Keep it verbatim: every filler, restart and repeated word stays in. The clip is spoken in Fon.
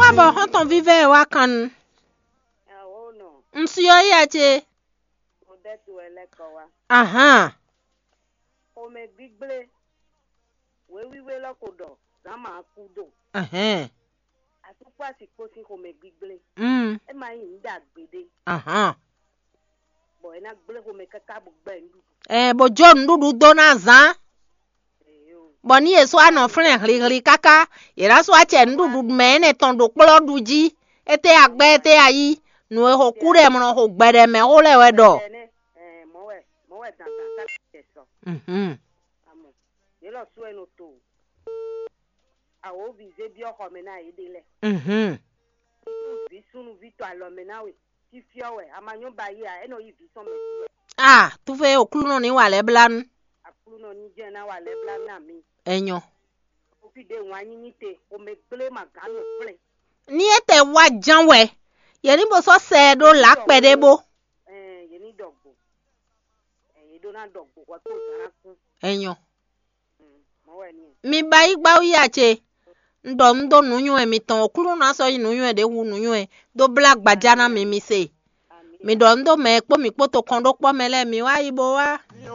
Abɔ xɔ́ntɔn vívɛ́ e wá kan nu. Awo nɔ, Un si ɔ́ ya ce. Mo ɖɛ to wɛ lɛ́ kɔ wá. Ahán. Xomɛ gbígblé. Wěwíwé lɔ ko ɖɔ zǎn ma kú do. Ahán. Asúkpó asi kpó sín xomɛ gbígblé. Mm. É ma nyí nǔ ɖagbe ɖé. Ahán. Bɔ é ná gblé xomɛ káká bó gbɛ nǔɖuɖu. Ɛ bó jó nǔɖuɖu dó ná zán. Bɔ ní yě sɔ́ anɔ flɛ́n hlihli káká, yě ná sɔ́ acɛ nǔɖuɖu mɛ énɛ́ tɔn ɖo kplɔ́ ɖu jí. Étɛ́ agbɛ́ étɛ́ ayí, nǔ e xo kú ɖɛ mlɔ xo gbɛɖɛ mɛ xó lɛ́ wɛ ɖɔ. Ɛnɛ, ɛ, mɔ̌ wɛ, mɔ̌ wɛ dandan ká tɛ sɔ. Mhm. Amɔ, yě lɔ sú ɛ nɔ to. Awǒvi zé byɔ́ xɔ mɛ ná yě ɖe lɛ́ɛ. Mhm. Vǐ súnnuví tɔ alɔ mɛ ná we. Fífyɔ́ wɛ, a ma nyɔ́ ba yí ǎ, é nɔ yí vǐ sɔn mɛ sí wɛ. Ah, tufe Oklunɔ ní wa lɛ́ blá nú. Aklúnɔ ní jẹ́ ná wa lɛ́ blá ná mi. Enyɔ. Ofi ɖe wǎn nyí ní te, xomɛ gblé ma gǎn nɔ flɛ́n. Ní é tɛ wá ján wɛ, yě ní bo sɔ́ sɛ ɛ ɖó lǎ kpɛɖé bó. Ɛɛ, yě ní ɖɔ gbo. Ɛɛ, yě ɖó ná ɖɔ gbo hwɛ kpó zǎn ná kú. Enyɔ. Mm, mɔ̌ wɛ ní. Mi ba yí gbá wú yá ce. Un ɖɔ un dó nǔnywɛ́ mitɔn, Oklunɔ ná sɔ́ nyí nǔnywɛ́ ɖě hú nǔnywɛ́, dó blá gbaja ná mi, mi se. Amǐ. Mi ɖɔ un dó mɛ e kpó mǐ kpó tokɔn ɖó kpɔ́ mɛ lɛ́ɛ, mi wá yi bó wá.